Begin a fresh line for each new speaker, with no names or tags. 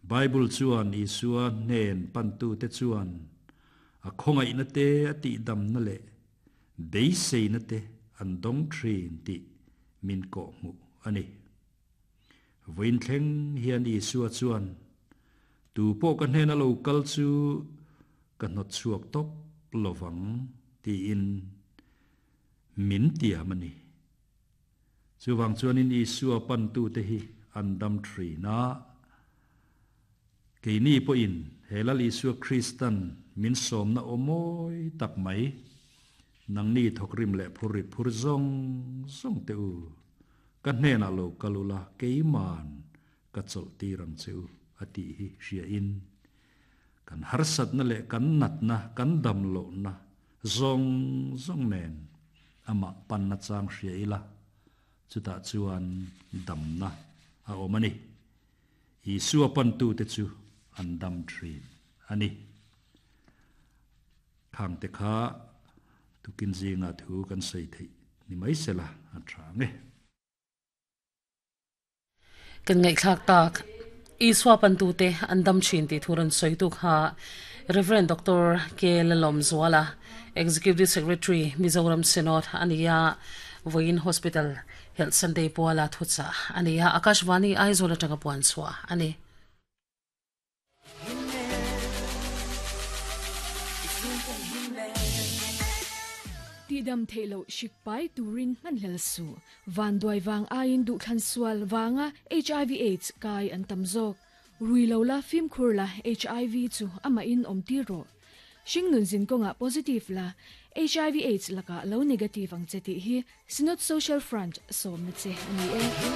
Bible chuan Isua hnen pantute chuan a khawngaihna te, a tihdamna leh beiseina te an dawng thin tih min kawhhmuh a ni. Vawiin thleng hian Isua chuan, Tu pawh ka hnena lo kal chu ka hnawt chhuak tawp lovang tiin min tiam a ni. Chuvang chuanin Isua pantute hi an dam thin a. Keini pawhin he Lal Isua Kristan min sawmna aw mawi tak mai, nangni thawkrim leh phurri phur zawng zawng teh u, ka hnenah lo kal ula keiman ka chawlh tir ang che u a tih hi hriain kan harsatna leh kan natna, kan damlohna zawng zawng nen amah panna chang hria ila, chutah chuan damna a awm a ni. Isua pantute chu an dam thin a ni. Khangte kha tukin zinga thu kan sawi theih ni mai sela a tha ang e.
Kan ngaihthlak tak Isua pantute an dam thin tih thu rawn sawitu kha Rev. Doctor K. Lalawmzuala, Executive Secretary, Mizoram Synod a ni a, Vawiin Hospital Health Sunday puala thuchah a ni a, Akashvani Aizawl atanga puan chhuah a ni.
Tihdam theih loh hrik pai turin hmanhlel suh. Vanduai vang aiin duhthlan sual vanga hiv aids kai an tam zawk. Rui lo la fimkhur la hiv chu amahin awm tir rawh. Hringnun zin kawngah positive la hiv aids lakah lo negative ang che tih hi Synod Social Front sawmna che a ni e.